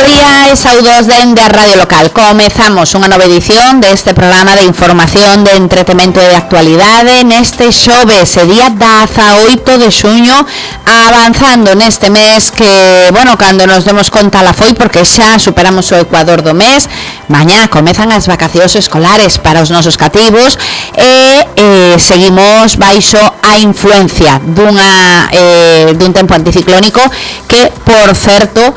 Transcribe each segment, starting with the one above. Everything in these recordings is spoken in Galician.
día e saudos dende a Radio Local. Comezamos unha nova edición deste programa de información, de entretemento e de actualidade neste xoves, día 18 de xuño, avanzando neste mes que, bueno, cando nos demos conta la foi, porque xa superamos o ecuador do mes. Mañá comezan as vacacións escolares para os nosos cativos e seguimos baixo a influencia dun tempo anticiclónico que, por certo,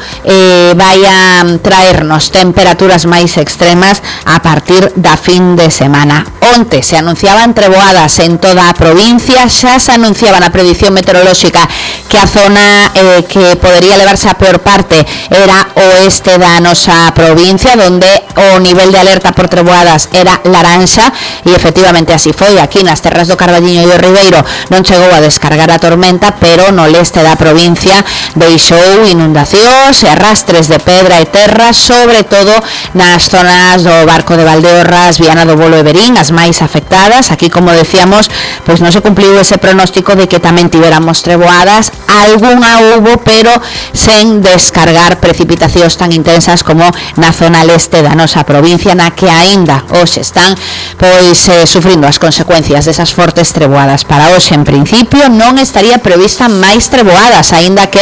vai a traernos temperaturas máis extremas a partir da fin de semana. Onte se anunciaban treboadas en toda a provincia, xa se anunciaba na predición meteorolóxica que a zona que podería levarse a peor parte era oeste da nosa provincia, donde o nivel de alerta por treboadas era laranxa, e efectivamente así foi. Aquí nas terras do Carballiño e do Ribeiro non chegou a descargar a tormenta, pero no leste da provincia deixou inundacións e arrastres de pedra e terra, sobre todo nas zonas do Barco de Valdeorras, Viana do Bolo e Verín, as máis afectadas. Aquí, como decíamos, pois non se cumpliu ese pronóstico de que tamén tiveramos treboadas. Algunha hubo, pero sen descargar precipitacións tan intensas como na zona leste da nosa provincia, na que aínda hoxe están pois sufrindo as consecuencias desas fortes treboadas. Para hoxe, en principio, non estaría prevista máis treboadas, aínda que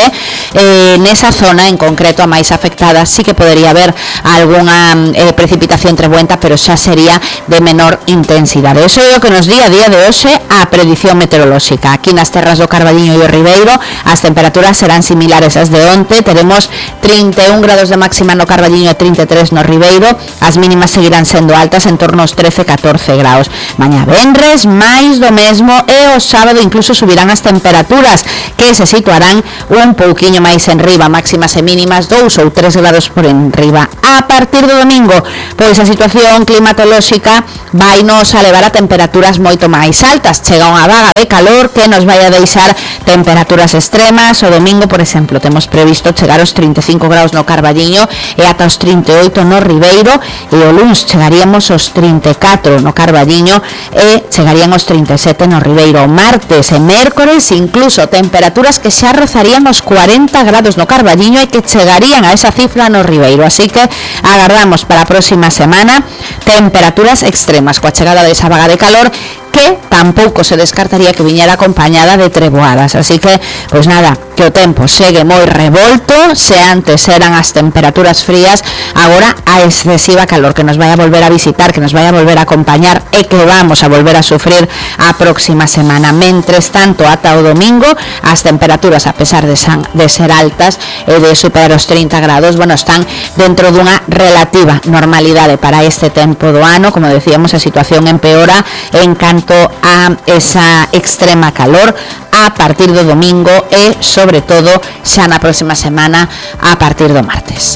nesa zona en concreto, a máis afectada, sí que podería haber algunha precipitación trebuenta, pero xa sería de menor intensidade. Eso é o que nos di a día de hoxe a predición meteorolóxica. Aquí nas terras do Carballiño e do Ribeiro as temperaturas serán similares ás de onte. Teremos 31 grados de máxima no Carballiño e 33 no Ribeiro. As mínimas seguirán sendo altas, en torno aos 13-14 graus. Mañá venres, máis do mesmo, e o sábado incluso subirán as temperaturas, que se situarán un pouquiño máis enriba, máximas e mínimas 2 ou 3 grados por enriba. A partir do domingo, pois a situación climatolóxica vai nos a levar a temperaturas moito máis altas. Chega unha vaga de calor que nos vai a deixar temperaturas extremas. O domingo, por exemplo, temos previsto chegar aos 35 graus no Carballiño e ata os 38 no Ribeiro, e o luns chegaríamos aos 34 no Carballiño e chegarían aos 37 no Ribeiro. O martes e mércores incluso temperaturas que xa rozarían os 40 grados no Carballiño e que chegarían a esa cifra no Ribeiro. Así que agardamos para a próxima semana temperaturas extremas coa chegada desa vaga de calor, que tampouco se descartaría que viñera acompañada de treboadas. Así que, pois nada, que o tempo segue moi revolto. Se antes eran as temperaturas frías, agora a excesiva calor que nos vai a volver a visitar, que nos vai a volver a acompañar e que vamos a volver a sufrir a próxima semana. Mentres tanto, ata o domingo, as temperaturas, a pesar de ser altas e de superar os 30 grados, bueno, están dentro dunha relativa normalidade para este tempo do ano. Como decíamos, a situación empeora en canto a esa extrema calor a partir do domingo e, sobre todo, xa na próxima semana a partir do martes.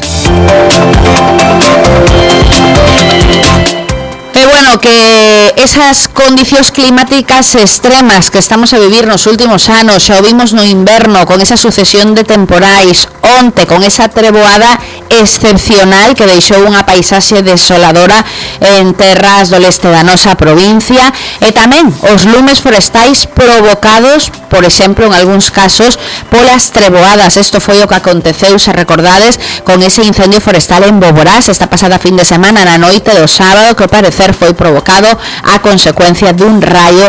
E bueno, que esas condicións climáticas extremas que estamos a vivir nos últimos anos, xa o vimos no inverno con esa sucesión de temporais, onte con esa treboada excepcional que deixou unha paisaxe desoladora en terras do leste da nosa provincia, e tamén os lumes forestais provocados, por exemplo, en algúns casos, polas treboadas. Isto foi o que aconteceu, se recordades, con ese incendio forestal en Boborás esta pasada fin de semana, na noite do sábado, que ao parecer foi provocado a consecuencia dun raio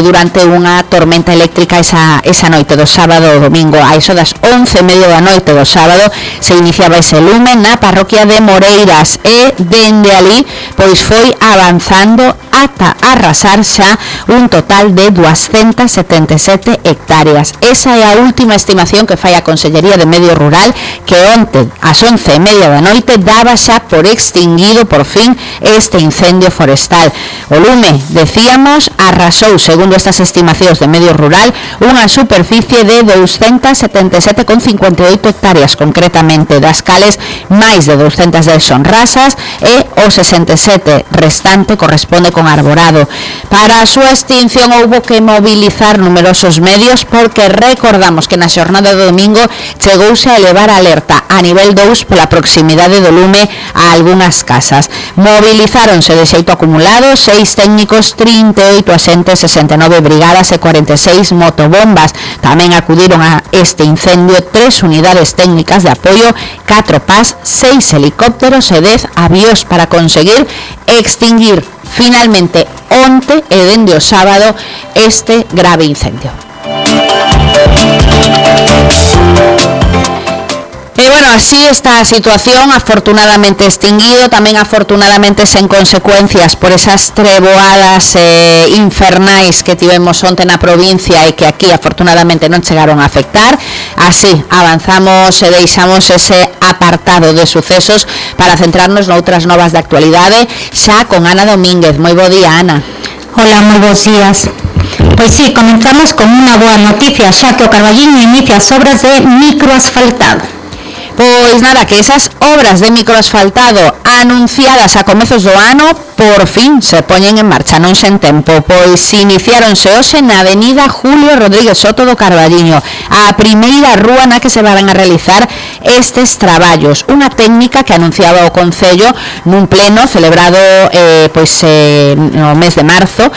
durante unha tormenta eléctrica esa noite do sábado ao domingo. A iso das 11:30 da noite do sábado se iniciaba ese lume na parroquia de Moreiras, e dende ali pois foi avanzando ata arrasar xa un total de 277 hectáreas. Esa é a última estimación que fai a Consellería de Medio Rural, que onte ás 11:30 da noite daba xa por extinguido por fin este incendio forestal. O lume, decíamos, arrasou, segundo estas estimacións de Medio Rural, unha superficie de 277,58 hectáreas concretamente, das cales máis de 210 son rasas e o 67% 17 restante corresponde con arborado. Para a súa extinción houbo que mobilizar numerosos medios porque recordamos que na xornada do domingo chegouse a elevar a alerta a nivel 2 pola proximidade do lume a algunhas casas. Movilizáronse de xeito acumulado 6 técnicos, 38 axentes, 69 brigadas e 46 motobombas. Tamén acudiron a este incendio 3 unidades técnicas de apoio, 4 PAS, 6 helicópteros e 10 avións para conseguir extinguir finalmente onte e dende o sábado este grave incendio. E bueno, así está a situación, afortunadamente extinguido, tamén afortunadamente sen consecuencias por esas treboadas infernais que tivemos onte na provincia e que aquí afortunadamente non chegaron a afectar. Así avanzamos e deixamos ese apartado de sucesos para centrarnos noutras novas de actualidade, xa con Ana Domínguez. Moi bo día, Ana. Hola, moi bons días. Pois sí, comenzamos con unha boa noticia, xa que o Carballiño inicia as obras de microasfaltado. Pois nada, que esas obras de microasfaltado anunciadas a comezos do ano por fin se poñen en marcha, non sen tempo, pois iniciáronse hoxe na avenida Julio Rodríguez Soto do Carballiño, a primeira rúa na que se van a realizar estes traballos, unha técnica que anunciaba o Concello nun pleno celebrado no mes de marzo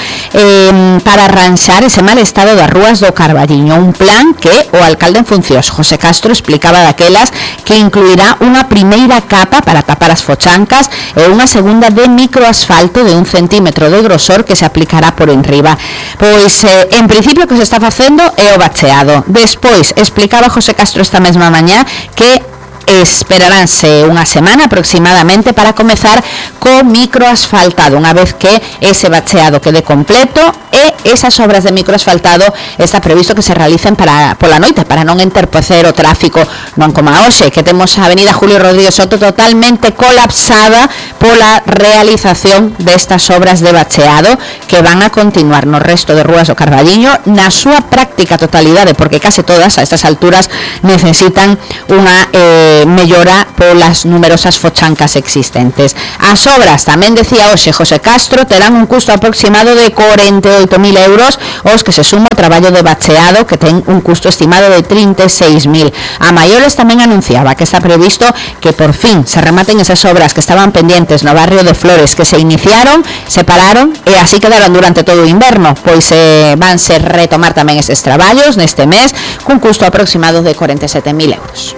para arranxar ese mal estado das rúas do Carballiño, un plan que o alcalde en funcións, José Castro, explicaba daquelas que incluirá unha primeira capa para tapar as fochancas e unha segunda de microasfalto de 1 centímetro de grosor que se aplicará por enriba. Pois, en principio, o que se está facendo é o bacheado. Despois, explicaba José Castro esta mesma mañá que esperaránse unha semana aproximadamente para comezar co microasfaltado, unha vez que ese bacheado quede completo e esas obras de microasfaltado está previsto que se realicen pola noite para non entorpecer o tráfico, non como a hoxe, que temos a avenida Julio Rodríguez Soto totalmente colapsada pola realización destas obras de bacheado que van a continuar no resto de rúas do Carballiño na súa práctica totalidade, porque case todas a estas alturas necesitan unha mellora polas numerosas fochancas existentes. As obras, tamén decía hoxe José Castro, terán un custo aproximado de 48.000 euros, os que se suma o traballo de bacheado que ten un custo estimado de 36.000. A maiores tamén anunciaba que está previsto que por fin se rematen esas obras que estaban pendientes no barrio de Flores, que se iniciaron, se pararon e así quedaron durante todo o inverno, pois vanse retomar tamén eses traballos neste mes cun custo aproximado de 47.000 euros.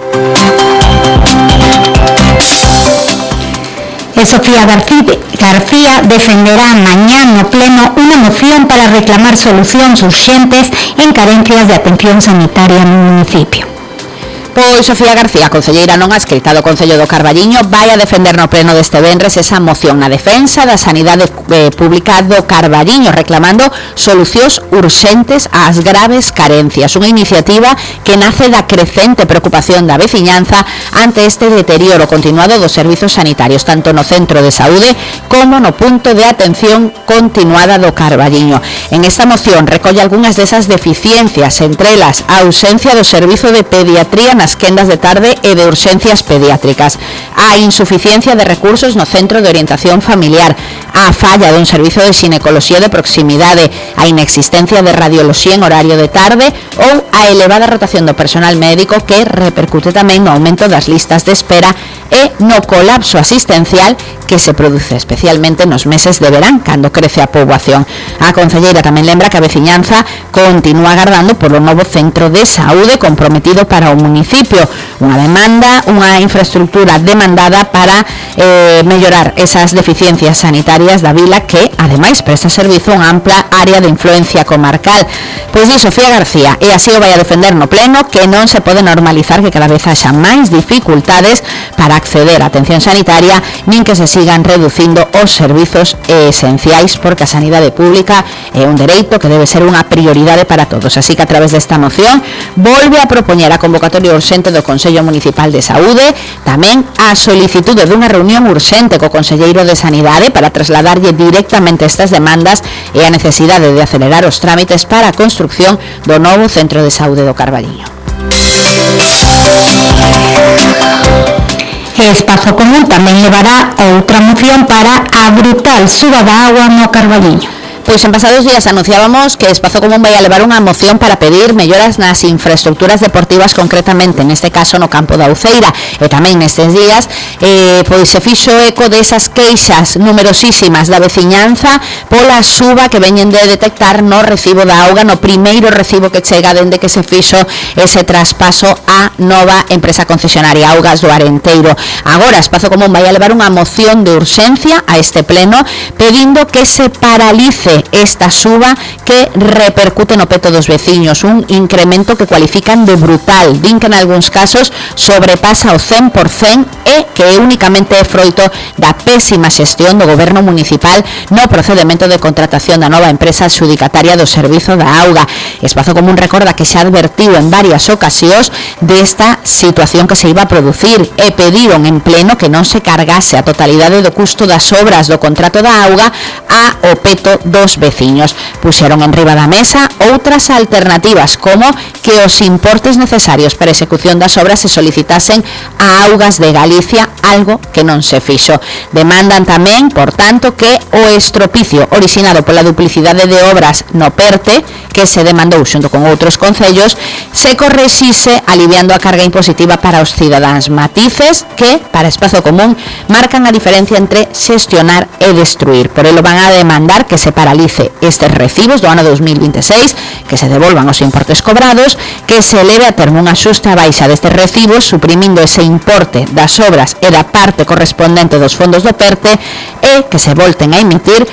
Sofía García defenderá mañá no pleno unha moción para reclamar solucións urxentes en carencias de atención sanitaria no municipio. Pois Sofía García, concelleira non adscrita do Concello do Carballiño, vai a defender no pleno deste venres esa moción na defensa da sanidade pública do Carballiño, reclamando solucións urxentes ás graves carencias. Unha iniciativa que nace da crecente preocupación da veciñanza ante este deterioro continuado dos servizos sanitarios, tanto no centro de saúde como no punto de atención continuada do Carballiño. En esta moción recolle algunhas desas deficiencias, entre elas a ausencia do servizo de pediatría nas quendas de tarde e de urxencias pediátricas, a insuficiencia de recursos no centro de orientación familiar, a falla dun servizo de xinecoloxía de proximidade, a inexistencia de radioloxía en horario de tarde ou a elevada rotación do personal médico que repercute tamén no aumento das listas de espera e no colapso asistencial que se produce especialmente nos meses de verán, cando crece a poboación. A concelleira tamén lembra que a veciñanza continúa agardando polo novo centro de saúde comprometido para o municipio, unha infraestructura demandada para mellorar esas deficiencias sanitarias da vila que, ademais, presta servizo a unha ampla área de influencia comarcal. Pois di Sofía García, e así o vai a defender no pleno, que non se pode normalizar que cada vez haxa máis dificultades para acceder á atención sanitaria, nin que se sigan reducindo os servizos esenciais, porque a sanidade pública é un dereito que debe ser unha prioridade para todos. Así que a través desta moción volve a propoñer a convocatoria urxente do Consello Municipal de Saúde, tamén a solicitude dunha reunión urxente co Conselleiro de Sanidade para trasladarlle directamente estas demandas e a necesidade de acelerar os trámites para a construcción do novo Centro de Saúde do Carballiño. Espazo Común tamén levará outra moción para a brutal suba da agua no Carballiño. Pois en pasados días anunciábamos que Espazo Común vai a levar unha moción para pedir melloras nas infraestructuras deportivas, concretamente neste caso no campo da Uceira, e tamén nestes días pois se fixo eco desas queixas numerosísimas da veciñanza pola suba que veñen de detectar no recibo da auga, no primeiro recibo que chega dende que se fixo ese traspaso á nova empresa concesionaria Augas do Arenteiro. Agora Espazo Común vai a levar unha moción de urxencia a este pleno pedindo que se paralice esta suba que repercute no peto dos veciños, un incremento que cualifican de brutal, din que en algúns casos sobrepasa o 100% e que únicamente é froito da pésima xestión do goberno municipal no procedemento de contratación da nova empresa adxudicataria do servizo da auga. Espazo Común recorda que xa advertiu en varias ocasións desta situación que se iba a producir e pediron en pleno que non se cargase a totalidade do custo das obras do contrato da auga ao peto dos veciños. Puxeron en riba da mesa outras alternativas, como que os importes necesarios para a execución das obras se solicitasen a Augas de Galicia, algo que non se fixo. Demandan tamén, por tanto, que o estropicio orixinado pola duplicidade de obras no PERTE, que se demandou xunto con outros concellos, se correxise aliviando a carga impositiva para os cidadáns, matices que, para Espazo Común, marcan a diferencia entre xestionar e destruir. Por elo van a demandar que se paralice estes recibos do ano 2026, que se devolvan os importes cobrados, que se eleve a termo un axuste a baixa destes recibos, suprimindo ese importe das obras e da parte correspondente dos fondos do PERTE, e que se volten a emitir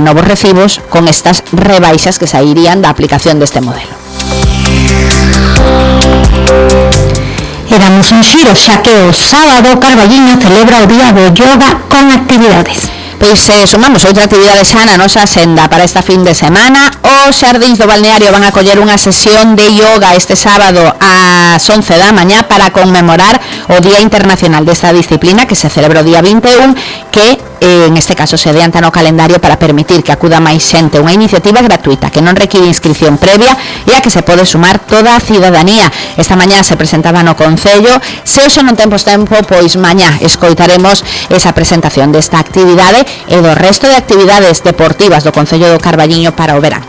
novos recibos con estas rebaixas que sairían da aplicación deste modelo. E damos un xiro, xa que o sábado Carballiño celebra o Día do Yoga con actividades. Pois sumamos outra actividade xa na nosa senda para esta fin de semana. Os xardíns do balneario van a coller unha sesión de yoga este sábado ás 11 da mañá para conmemorar o Día Internacional desta disciplina que se celebra o día 21, que en este caso se adianta no calendario para permitir que acuda máis xente, unha iniciativa gratuita que non require inscripción previa e a que se pode sumar toda a cidadanía. Esta mañá se presentaba no Concello, se hoxe non temos tempo, pois mañá escoitaremos esa presentación desta actividade e do resto de actividades deportivas do Concello do Carballiño para o verán.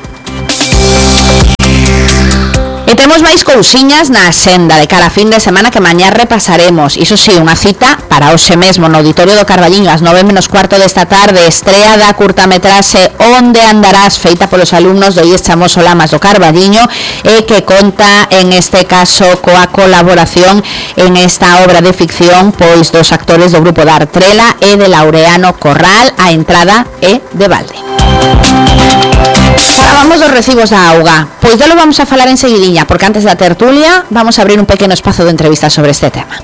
E temos máis cousiñas na senda de cara a fin de semana que mañá repasaremos. Iso sí, unha cita para hoxe mesmo no Auditorio do Carballiño ás 9:15 desta tarde, estrea da curtametraxe Onde andarás, feita polos alumnos do IES Chamoso Lamas do Carballiño e que conta en este caso coa colaboración en esta obra de ficción pois dos actores do grupo da Artrela e de Laureano Corral. A entrada é de balde. Falábamos dos recibos da auga, pois delo vamos a falar enseguidiña, porque antes da tertulia vamos a abrir un pequeno espazo de entrevista sobre este tema.